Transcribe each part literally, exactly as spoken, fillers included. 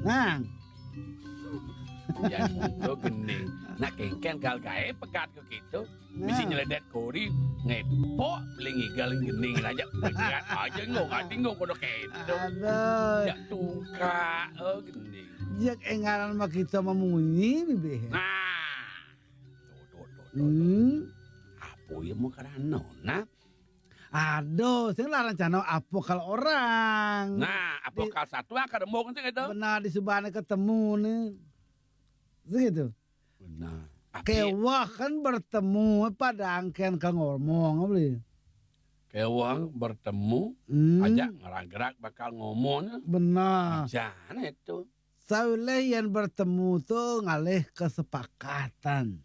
Nah. Yan mula gending. Nak kéngkén gal gaé pegat ké kéto. Misi nyeledét kori, ngepok, beli ngigal gending aja. Pegat aja ngong, ati ngong kono kéto. Aduh. Jak tungkak, oh, gending. Jak énggalan mah kita memunyi, bibih. Nah. Tuh, tuh, tuh, tuh, tuh. Hmm. Apa ya mau karena, nah? Aduh, sing lah rencana apa kalau orang? Nah, apa kalau satu akar embung sing itu? Benar, di subane ketemu nih. Sing itu. Benar. Tapi kéweh kan bertemu, pada angkén ka ngomong, beli. Kéweh bertemu, hmm, aja ngeragrak bakal ngomong. Benar. Jana itu. Sawilih yén bertemu tuh ngalih kesepakatan.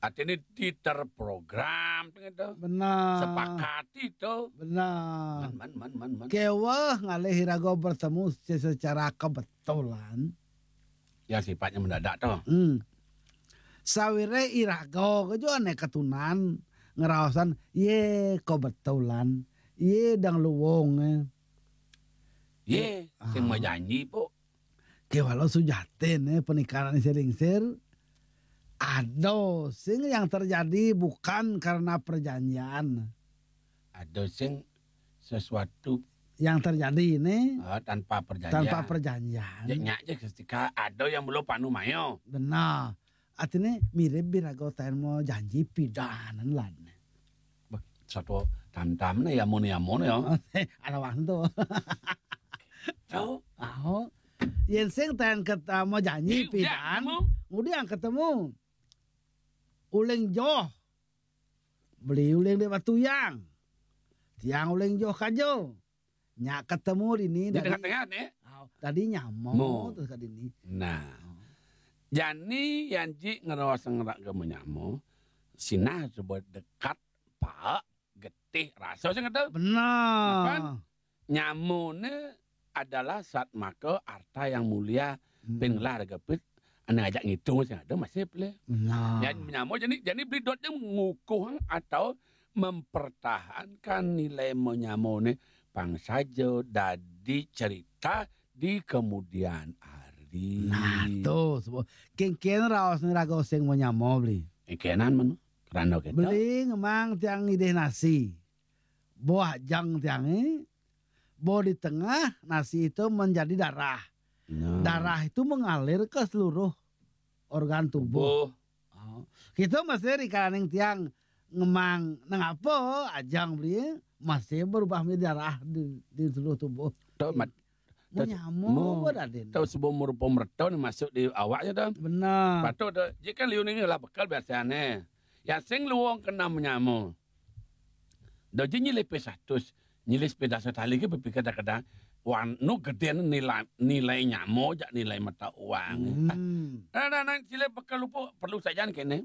Artinya diterprogram gitu. Benar. Sepakati tuh. Benar. Man, man, man, man, man. Kéweh ngalih iraga bertemu se-, secara kebetulan. Ya, sifatnya mendadak tuh. Hmm. Sawire iraga ke jo ane ketunan ngeraosan, ye, kebetulan. Ye, dang luwung, eh. Ye, sing mau janji, Pok. Ké walau sujatin, eh, pernikahan sing lingsir, ada sing yang terjadi bukan karena perjanjian. Ada sing sesuatu yang terjadi ini, ah, tanpa perjanjian. Tanpa perjanjian. Ya, nyak aja ketika ada yang belum panu mayo. Benar. Artinya mirip biraga taén mau janji pidan lan. Bah, satu tam-tam nih ya, mun ya, mun ya. Ada waktu. Tahu? Tahu. Yén sing taén ket-, mau janji pidan, ngudi yang ketemu. Uling joh. Beli uling di Batuyang. Tiang uling joh kajo. Nya ketemu dini. Di tengah-tengah nih. Aw, tadi nyamo terus ka dini. Nah. Oh. Jani yan ji ngeraos ngerak ke menyamo, sinah coba dekat, paek, getih, rasa sing ada. Benar. Kan? Nyamone adalah satmaka arta yang mulia, hmm, pin ngelah harga pit, ane ngajak ngitung sing ada masih boleh. Benar. Yan nyamo jani, jani beli dot yang ngukuh atau mempertahankan nilai menyamone pang saja dadi cerita di kemudian hari. Nah, tuh, sebo-, kéngkén raos ni raga sing menyamo beli. Kéngkénan men, kerana kita. Beli ngemang tiang ngidih nasi. Boh ajeng tiangé, boh di tengah, nasi itu menjadi darah. Nah. Darah itu mengalir ke seluruh organ tubuh. Tubuh. Oh. Kita masih di kalaning tiang ngemang nang apa ajang beli masih berubah menjadi darah di, di seluruh tubuh. Tuh, mat-, mau tuh, nyamuk mau, apa, Raden? Tuh, sebelum merupa merta ni masuk di awaknya tuh. Benar. Patut tuh, jika liu ni lah bekal biasanya. Yang sing luang kena menyamuk. Dah je nyilih pe satus, nyilih sepeda setali ke berpikir kadang-kadang, wan nu gedén nilai, nilai nyamo jak nilai mata uang. Hmm. Nah, nah, nah, silih bekal lupa perlu saja kene.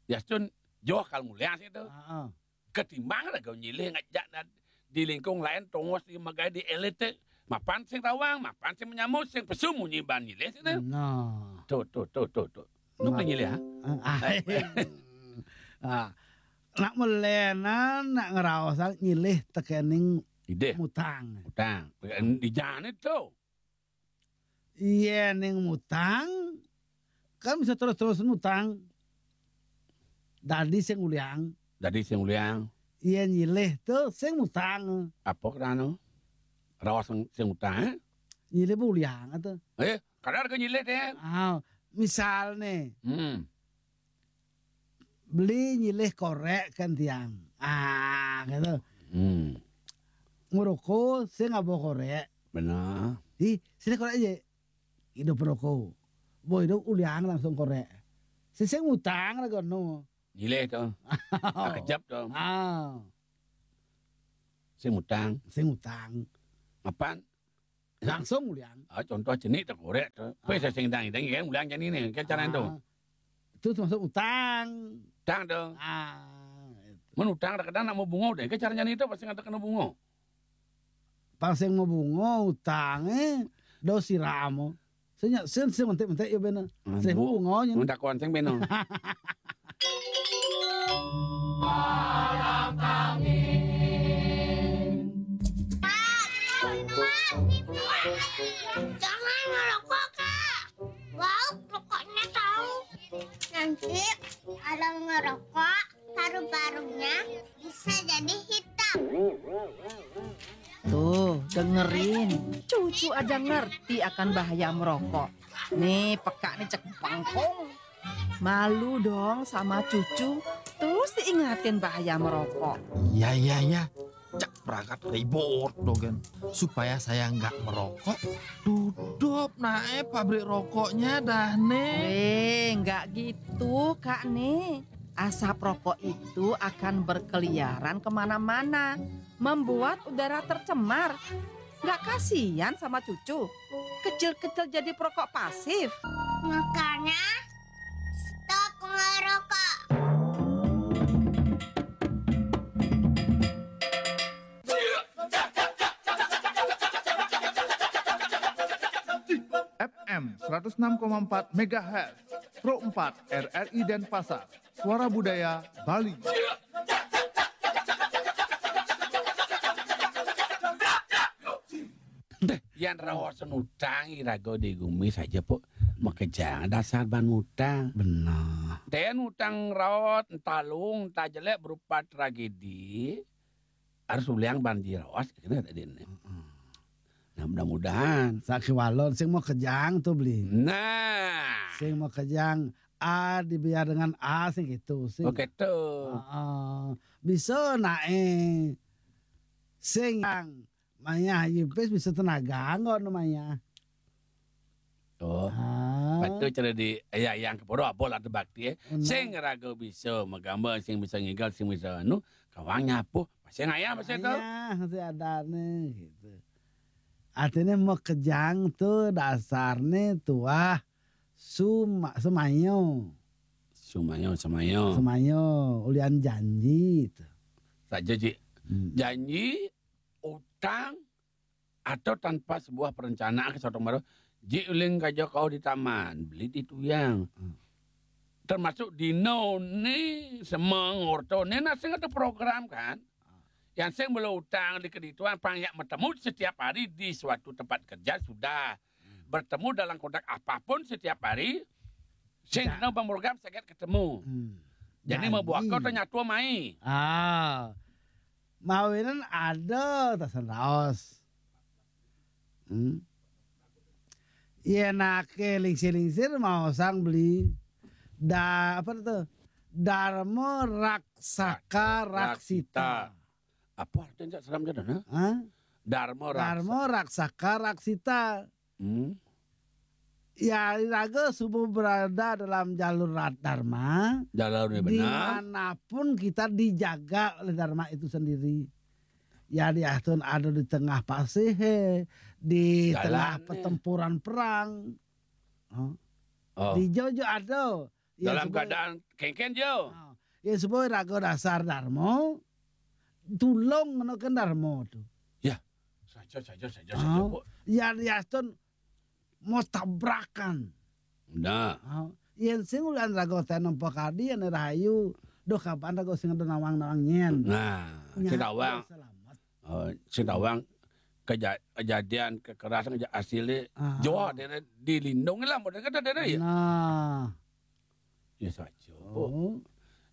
Yastun joh kal mulia sih tu. Heeh. Ketimbang raga nyilih ngajak na-, di lingkung lain tongos di magai di elit te. Mapan sing tawang, mapan sing menyamo, sing pesu munyi ban nyilih sih tu. Nah. Tu, tu, tu, tu, tu. Nu nyilih, ha? Ah. Ah. Nak melenan, nak ngeraosan nyilih tekening idih. Mutang. Mutang. Di jane tu. Iya ning mutang, kan bisa terus-terus mutang. Dadi sing uliang. Dadi sing uliang. Iya nyilih tu sing mutang. Apa kerana? Raos sing, sing mutang, eh? Nyilih uliang tu. Eh, kadar ke nyilih deh. Ah, misal nih. Hmm. Beli nyilih korek kan tiang. Ah, gitu. Hmm. Ngeroko sing ngabo korek. Benar. Ih, sini korek aja. Hidup roko. Bo hidup uliang langsung korek. Sing mutang lah kono. Nyilih tu. Ah, kejap tu. Ah. Sing mutang. Sing mutang. Mapan? Langsung uliang. Ah, contoh jenik tu korek tu. Pe sing dang, dang kan uliang jani ni, kan cara tu. Ah. Itu termasuk utang. Utang tu. Ah, itu. Mun utang kadang-kadang nak mau bungo deh, kan caranya ni tu pasti ada kena bungo. Pang sing mau bungo utang, eh, do siram. Sing, sing, sing mentik-mentik ya bena. Sing mau bungo nya. Mun takon sing bena. Jangan Ih, kalau ngerokok, paru-parunya bisa jadi hitam. Tuh, dengerin. Cucu aja ngerti akan bahaya merokok. Nih, peka nih cek bengkong. Malu dong sama cucu. Terus diingatin bahaya merokok. Iya, iya, iya. Cek perangkat ribut dogen. Supaya saya nggak merokok, tutup nae pabrik rokoknya dah, Nek. Eh, nggak gitu, Kak Nek. Asap rokok itu akan berkeliaran kemana-mana, membuat udara tercemar. Nggak kasihan sama cucu? Kecil-kecil jadi perokok pasif. Makanya, stop ngerokok. F M seratus enam koma empat megahertz, Pro empat R R I Denpasar, Suara Budaya Bali. Deh, yan raos utang iraga di gumi saja, Pok. Makejang dasar ban utang. Benar. Ten utang raos, entah luung, entah jelek, berupa tragedi. Harus uliang ban diraos, kena tadi ini. Nah, mudah-mudahan. Sakiwala, sing makejang tuh beli. Nah, Sing makejang, A dibiar dengan A sing gitu sing. Oke tuh. Heeh. Bisa nae sing yang maya yipis bisa tenaga anggo namanya. Oh. Ah. Betul cara di ya yang keporo apa lah bakti eh. Benar. Sing raga bisa magambar, sing bisa ngigal, sing bisa anu, kawang nyapu. Masih ngayah masih tuh. Ya, masih ada nih gitu. Artinya makejang tuh dasarnya tuah suma, semayo. Semayo, semayo. Semayo, ulian janji itu. Saja, Ji. Hmm. Janji, utang, atau tanpa sebuah perencanaan ke satu baru, Ji uling kaja kau di taman, beli di tuyang. Hmm. Termasuk dino ni semengorto ni nasi ada program kan. Yang sing belum utang di kedituan pang yak bertemu setiap hari di suatu tempat kerja sudah. Bertemu dalam konteks apapun setiap hari. Sing Ya. kena bang program sakit ketemu. Hmm. Jadi Janji. Membuat kau ternyata mai. Ah. Mawinan ada tasan raos. Hmm. Iya nake lingsir-lingsir mau sang beli da apa itu Dharma Raksaka Raksita. Apa artinya seram jadana? Hah? Dharma Raksa. Dharma Raksaka Raksita. Hmm. Ya, raga subuh berada dalam jalur rat dharma. Jalur ni Di benar. manapun kita dijaga oleh dharma itu sendiri. Ya, di atun ada di tengah pasih, di Jalan tengah ni. Pertempuran perang. Oh. Oh. Di jauh-jauh ada. Ya, Dalam supaya- keadaan kengken jauh. Ah, ya supaya raga dasar dharma tulung ngenoken dharma tu. Saja, saja, saja, saja, Ah, Pok. ya diastun mau tabrakan. Nah, Ah, yen sing ulan raga teh nempo kadi ane rahayu. Duh kapan raga sing ada nawang-nawang nyen. nah, Nya, sing tawang, selamat. oh, sing tawang keja- kejadian kekerasan keja- asli Ah. Jawa daerah dilindungi lah model kata daerah ya. Nah, Ya saja. Pok. oh,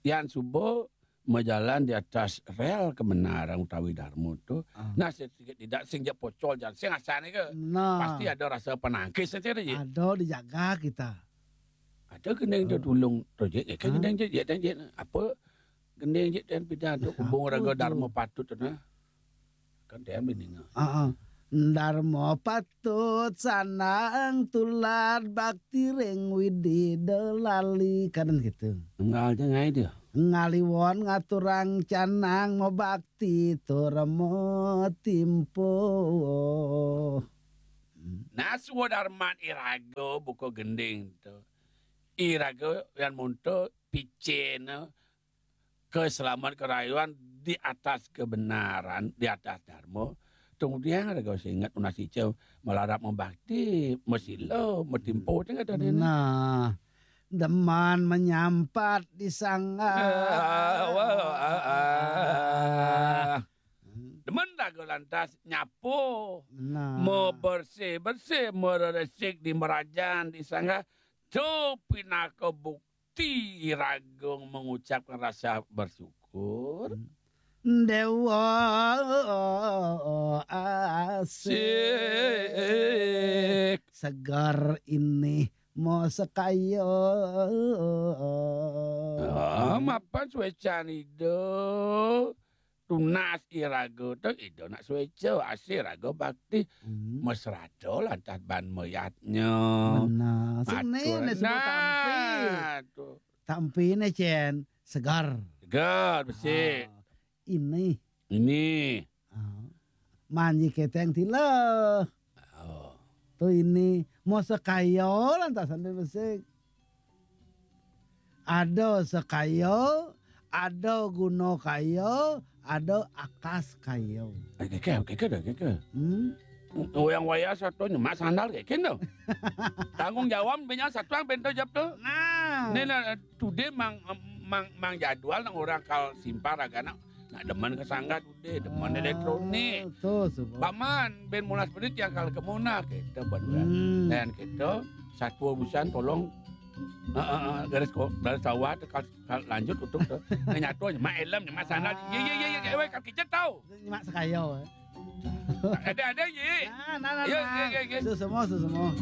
Yang subuh berjalan di atas rel kebenaran utawi dharma tu. Ah. Nah, sedikit tidak sing je pocol jan sing asane ke. nah. Pasti ada rasa penangkis saja ya. Ada dijaga kita. Ada gending tu tulung tu je, ya kan Hah? gending je, ya dan je. Apa gending je dan pidato Ya, hubung apa raga tu? Dharma Patut tu nah. Kan dia bini ngah. Heeh. Dharma patut sandang tulad bakti ring widi delali kan gitu. Enggak aja ngai dia. Ngaliwon ngaturang canang mabakti tur matimpo. Nah, swadarman iraga buka gending tu. Iraga yang monto picena keselamatan kerayuan di atas kebenaran, di atas dharma. Tungdiang raga singet unas ica malarap membakti, masila, matimpo tengah tadi. Nah, deman menyampat di sangga. Ah, wah, ah, ah. Demen raga lantas nyapo, Nah. mau bersih-bersih, mereresik di merajan, di sangga, tu pinaka bukti pasti iraga mengucapkan rasa bersyukur. Hmm. Déwa asik. Sik. Segar ini mau sekaya. Ah, mapan suécan Ida. Tunas iraga tu Ida nak suéca, asih iraga bakti. Hmm. Mesrada lantas ban mayatnya. Benar. Sing né, atur né sebut tampi. Nah, tu. Tampi né, Cén. Segar. Segar, besik. Ah, ini. Ini. Ah. Manji kéténg tilah. Oh. Tu ini. Mau sekaya lantasan dia besik. Ada sekaya, ada guna kaya, ada akas kaya. Eh, kéké, kéké dah, kéké. Hmm? Wayang wayah satu nyemak sandal kéké dah. Tanggung jawab banyak satu yang pintu jawab tu. Nah. Né, nah, today mang, mang, mang jadwal nang orang kal simpar agak nak, nak demen ke sangga today, demen elektronik. Tu, sebab. Paman, ben mulas penit yang kal kemuna kita buat orang. Hmm. Dan kita satu busan tolong, eh, eh, eh, garis ko-, garis sawah tu kal, kal lanjut untuk tu. Nyatu nyemak helm, nyemak sandal. Ah. Ye, ye, ye, ye, weh, kaki je tahu. Nyemak sekaya, eh. Ada, ada, ye. Nah, nah, nah, ye, nah. Ye, ye, ye. Susemo, susemo.